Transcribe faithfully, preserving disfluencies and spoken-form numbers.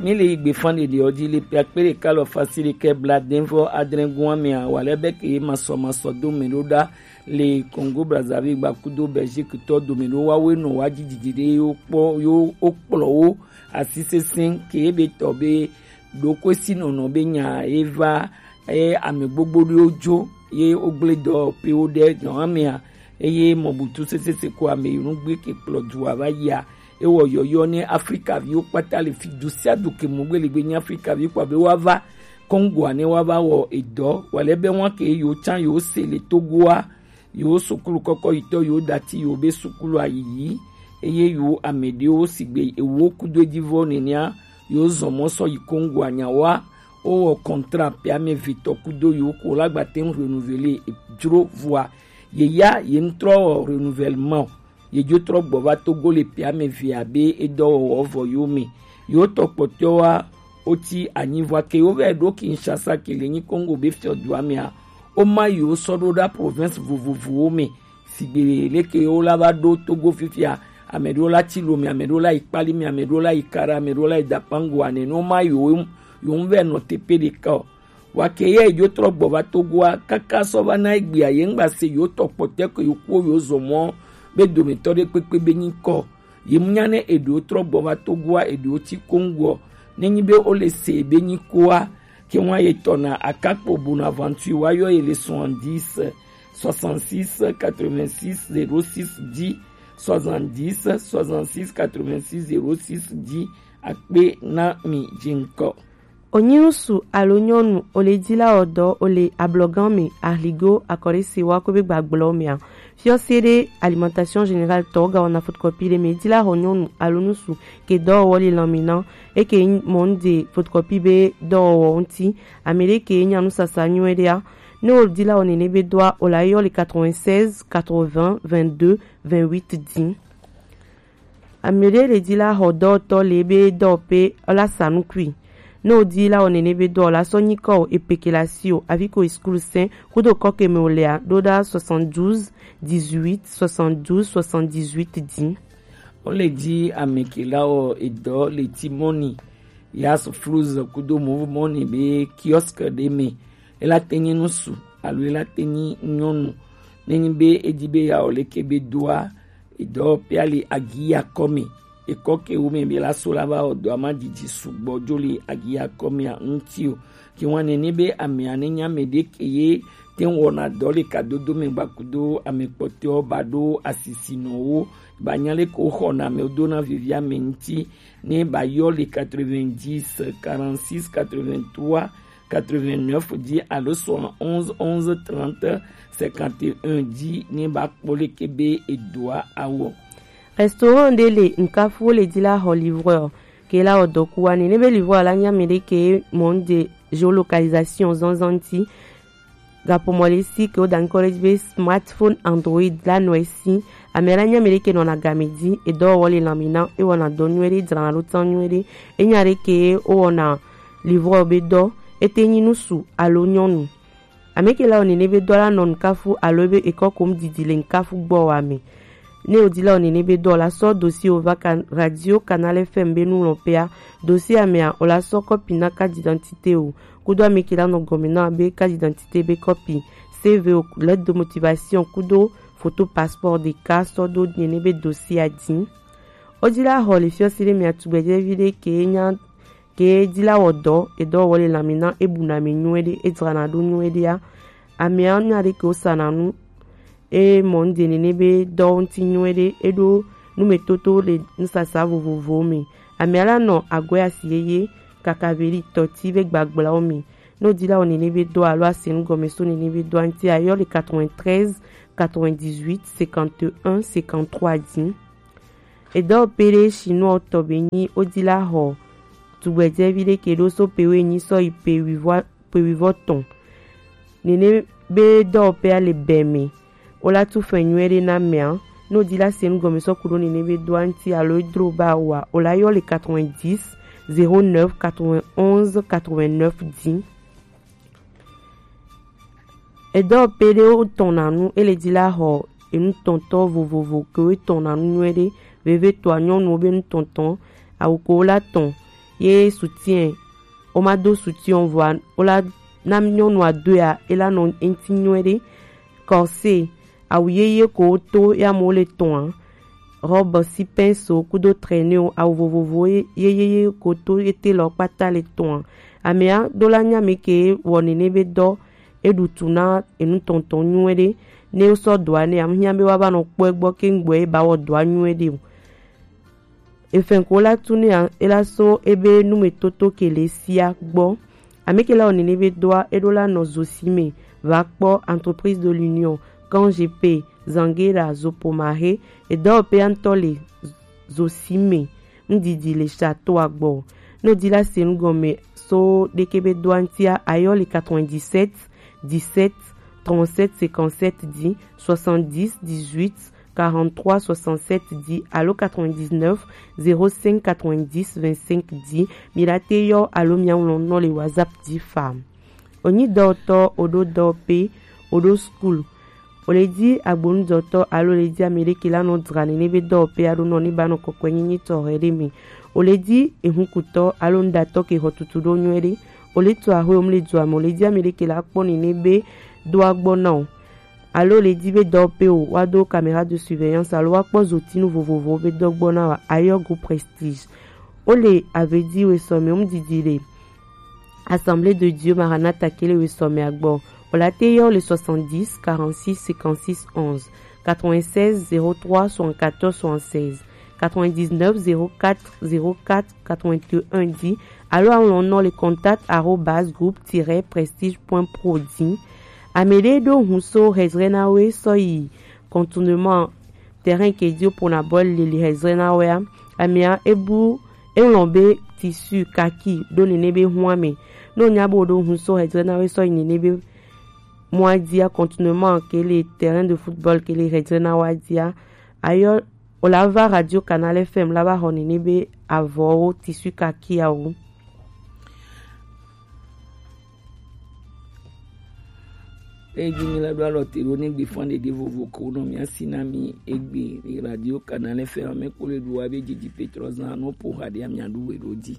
Mi le yi gbe fan ɖeɖe ɔ ji le pe akpe ɖeka lɔ fasi ɖekɛ bla dɛnvɔ adrɛngun amɛ a, wa lɛ bɛ ke masɔ masɔ do mɛ ɖo ɖa le Congo Brazzaville gba kudo Belgique tɔ do mɛ ɖo wa we nɔ wa ji jiji ɖe yo kpɔ yo o kplɔ wo asi sɛsɛ ke be tɔ be ɖo ko si nɔnɔ be nya e va e ame gbogbo ɖe wo jo ye o gble dɔ pe wo ɖe nɔ amɛ a, eye mɔ butu sɛsɛ se ko ame yi nu gbe ke kplɔ du a va yi a. Ewɔ yɔyɔ ne Afrika viwo kpata le fi du sia du ke mu gbe le gbe nyi Afrika vi kpa be wa va Congo a ne wa va wɔ edɔ wa le be wa ke yo tsan yo se le Togo a yo sukulu kɔkɔ yitɔ yo dati yo be sukulu a yiyi eye yo ame ɖewo sigbe ewo kudo edzi vɔ nenea yo zɔn mɔ sɔ yi Congo a nya wa o wɔ contrat pe ame vetɔ kudo yo ko la gba te renouveler e jro vɔa ye ya ye n trɔ wɔ renouvellement o. Ye dzo trɔ gbɔ va Togo le pe ame ve abe edɔwɔwɔ vɔ yo me. Yo tɔ kpɔtɔa o ti anyi vɔ ke yo vɛ ɖo Kinshasa ke le nyi Congo be fiɔ du ame a. O ma yo sɔ ɖo ɖa province vovovowo me. Sigbe leke wo la va ɖo Togo fifia, ame ɖewo la ti lo me, ame ɖewo la yi kpali me, ame ɖewo la yi kara, ame ɖewo la yi dapango ane no ma yo yo vɛ nɔ tepe ɖeka o. Wa ke ye dzo trɔ gbɔ va Togoa kaka sɔ va na egbea ye ŋgba se yo tɔ kpɔtɛ ko yo kuwo yo zɔ mɔ be dometɔ ɖe kpekpe be nyi kɔ. Ye mu nya ne eɖewo trɔ gbɔ va Togoa eɖewo ti Kongoɔ ne nyi be wo le se be nyi koa ke wa ye tɔ na akakpo Bonaventure wa yɔ ye le soixante-dix soixante-six quatre-vingt-six zéro six dix soixante-dix soixante-six quatre-vingt-six zéro six dix akpe na mi jiŋkɔ. Onyinusu alo nyɔnu o le dila ɔdɔ o le ablɔgan me ahligo akɔɖe se wa ko be gbagblɔ mea. Fiɔ se ɖe alimentation générale tɔ ga wɔna photocopie ɖe me dila xɔ nyɔnu alo nusu ke dɔwɔwɔ le lanmina eke mɔ nu de photocopie be dɔwɔwɔ ŋuti ame ɖe ke nya nusasa nyuie ɖea. Ne o dila o nene be doa o la yɔ le quatre-vingt-seize quatre-vingts vingt-deux vingt-huit dix. Ame ɖe le dzi la xɔ dɔwɔtɔ le ebe dɔ pe ela sa nukui. Ne wòdi la wɔ nene be dɔ la sɔ nyikɔ o epeke la si o avi ko eskul sɛn kudo kɔke me wòlea ɖo ɖa soixante-douze dix-huit soixante-douze soixante-dix-huit dzi. Wole dzi ame ke la wɔ edɔ le ti mɔni ya sufluz kudo mɔvu mɔni be kiosk ɖe me. Ela te nyi nusu alo ela te nyi nyɔnu. Nenyi be edi be ya wɔ leke be doa edɔ pia le agiya kɔme. Ekɔ ke wo me be la so la va wɔ dɔ ama didi sugbɔ jo le agiya kɔme a ŋuti o. Ke wa nene be amea ne nya me ɖe ke ye te wɔna dɔ le kadodo me gbakudo ame kpɔtɔ ba ɖo asisi nɔ wo ba nya le ko xɔna me do na vivi ame ŋuti ne ba yɔ le quatre-vingt-dix quarante-six quatre-vingt-trois quatre-vingt-neuf dzi alo soixante-onze onze trente cinquante et un dzi ne ba kpɔ leke be edoa awɔ. Restaurant ɖe le ŋkafuwo le dzi la xɔ livreur ke la wɔ dɔkuwa ne ne be livreur la nya me ɖe ke mɔ de géolocalisation zanzan ŋuti. Gakpɔ mɔ le si ke wo da ŋkɔ ɖe dzi be smartphone Android la nɔ esi. Ame la nya me ɖe ke nɔna game dzi edɔwɔwɔ le lãme na ewɔna dɔ nyuie ɖe dzrana ɖo tan nyuie ɖe. Enya ɖe ke wowɔna livreur be dɔ ete nyi nusu alo nyɔnu. Ame ke la wɔ nene be dɔ la nɔ ŋkafu alo ebe ekɔ kom didi le ŋkafu gbɔ wa me. Ne wòdi la wɔ nene be dɔ la sɔ dossier wò va kan radio Canal F M be nulɔ̃ƒea. Dossier amea wò la sɔ kɔpi na carte d'identité wò kudo ame ke la nɔ gɔme na be carte d'identité be kɔpi, C V wò, lettre de motivation kudo photo passeport ɖeka sɔ do nene be dossier a dzi. Wodi la xɔ le fiɔsi ɖe mea tugbedzɛvi ɖe ke nya ke dzi la wɔ dɔ edɔ wɔ le lãme na ebu na ame nyuie ɖe edzrana ɖo nyuie ɖea. Amea nya ɖe ke wosana nu e mɔ nu de nene be dɔwo ŋuti nyuie ɖe eɖo numetoto le nusasa vovovowo me. Amea la nɔ agɔe asi yeye kaka veɖi tɔti be gbagblawo me. Ne wodi la wɔ nene be dɔ alo ase nu gɔme so nene be dɔa ŋuti ayɔ le quatre-vingt-treize quatre-vingt-dix-huit cinquante et un cinquante-trois dzi. Edɔ pe ɖe shinua tɔ be nyi wodi la xɔ tugbedzɛvi ɖe ke ɖo so pe wo enyi sɔ yi pe wivɔ pe wivɔ tɔn. Nene be dɔwɔƒea le bɛ me. Wola tu fɛn nyuie ɖe na mea. Ne wodi la se nu gɔme sɔ ku ɖo nene be dɔa ŋuti alo edro ba wa wola yɔ le quatre-vingt-dix zéro neuf quatre-vingt-onze quatre-vingt-neuf dzi. Edɔ pe ɖe wotɔna nu ele dzi la xɔ enutɔntɔ vovovo ke wotɔna nu nyuie ɖe. Veve tɔa nyɔnuwo be nutɔntɔ awu ko wola tɔn Ye soutien, o ma do soutien o vɔa, o la na nyɔnua do ya, e la nɔ eŋti nyuie ɖe. Corset, awu yeye ko to ya mo le tɔn a. Robe si pinceau kudo traîneau, awu vovovo ye yeye ko to ye te lɔ kpata le tɔn a. Amea do la nya mi ke wɔ nene be dɔ e ɖu tu na enu tɔntɔn nyuie ɖe. Ne o sɔ dɔa ne, am hiã be wa va nɔ kpɔ egbɔ ke ŋgbɔ e ba wɔ dɔa nyuie ɖe o. Efɛn ko la tu ne a, e la so ebe numetoto ke le sia gbɔ. Ame ke la wɔ nene be dɔa, e ɖo la nɔ Zosime, va kpɔ Entreprise de l'Union, Kan G P, Zangera, Zopomahe, edɔwɔƒea ŋutɔ le Zosime, ŋdidi le Château agbɔ. Ne o di la se nu gɔme so ɖeke be dɔa ŋutia, ayɔ le quatre-vingt-dix-sept dix-sept trente-sept cinquante-sept dix, soixante-dix dix-huit quarante-trois soixante-sept dix alo quatre-vingt-dix-neuf zéro cinq quatre-vingt-dix vingt-cinq dix. Mi la te yɔ alo mia ŋlɔ nɔ le WhatsApp dzi fa. O nyi dɔwɔtɔ, o ɖo dɔwɔƒe, o ɖo school, o le di agbonudɔtɔ alo o le di ame ɖe ke la nɔ dzra nene be dɔwɔƒe aɖo nɔ ne ba nɔ kɔkɔe nyenye tɔxɛ ɖe me, o le di ehunkutɔ alo nuɖatɔ ke xɔ tutu ɖo nyuie ɖe, o le to axwe o mu le dua me, o le di ame ɖe ke la kpɔ nene be dɔa gbɔ na o, alo o le di be dɔwɔƒe o wa do caméra de surveillance alo wa kpɔ zotinu vovovowo be dɔ gbɔ na wa, ayɔ go Prestige. O le ave di we sɔ me o mu didi le Assemblée de Dieu Maranatha ke le we sɔ me agbɔ. O la te yɔ le soixante-dix quarante-six cinquante-six onze, quatre-vingt-seize zéro trois soixante-quatorze soixante-seize, quatre-vingt-dix-neuf zéro quatre zéro quatre quatre-vingt-un dix, alo aŋlɔ nɔ le contact arobase groupe tiret prestige point pro dzi. Ame ɖe ɖo hun so hezre na we sɔ yi contournement terrain ke di o pona bɔl le le hezre na wea, amea ebu eŋlɔ be tissu kaki ɖo nene be hua me. Ne o nya be o ɖo hun so hezre na we sɔ yi nene be mɔa dia, contournement ke le terrain de football ke le hezre na wa dia, ayɔ o la va Radio Canal F M la va xɔ nene be avɔwo tissu kaki awo. Eyi mi la ɖo alɔ te ɖo ne gbe fɔn ɖeɖe vovo ko nɔ mia si na mi egbe Radio Canal F M me ko le ɖo wa be dzidzi Petro zan no po ha ɖe mia ɖu we ɖo di.